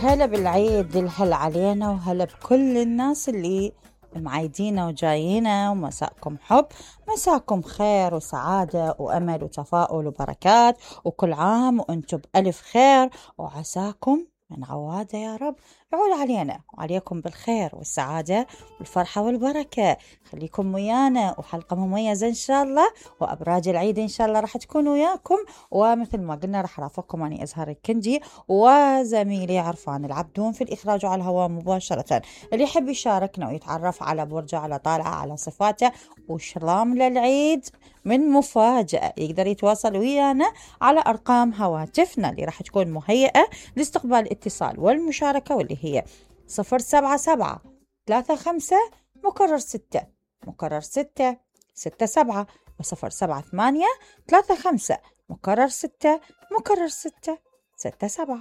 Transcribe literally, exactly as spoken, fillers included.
هلا بالعيد الهلا علينا وهلا بكل الناس اللي معايدينا وجايينا، ومساءكم حب، مساءكم خير وسعادة وأمل وتفاؤل وبركات، وكل عام وأنتم بألف خير، وعساكم من عوادة يا رب يعود علينا وعليكم بالخير والسعادة والفرحة والبركة. خليكم ويانا وحلقة مميزة إن شاء الله، وأبراج العيد إن شاء الله راح تكون وياكم. ومثل ما قلنا راح رافقكم أني أزهر الكندي وزميلي عرفان العبدون في الإخراج على الهواء مباشرة. اللي يحب يشاركنا ويتعرف على برجه، على طالعه، على صفاته وشلام للعيد من مفاجأة، يقدر يتواصل ويانا على أرقام هواتفنا اللي راح تكون مهيئة لاستقبال الاتصال والمشاركة، واللي هي صفر سبعة سبعة ثلاثة خمسة مكرر ستة مكرر ستة ستة سبعة، وصفر سبعة ثمانية ثلاثة خمسة مكرر ستة مكرر ستة ستة سبعة.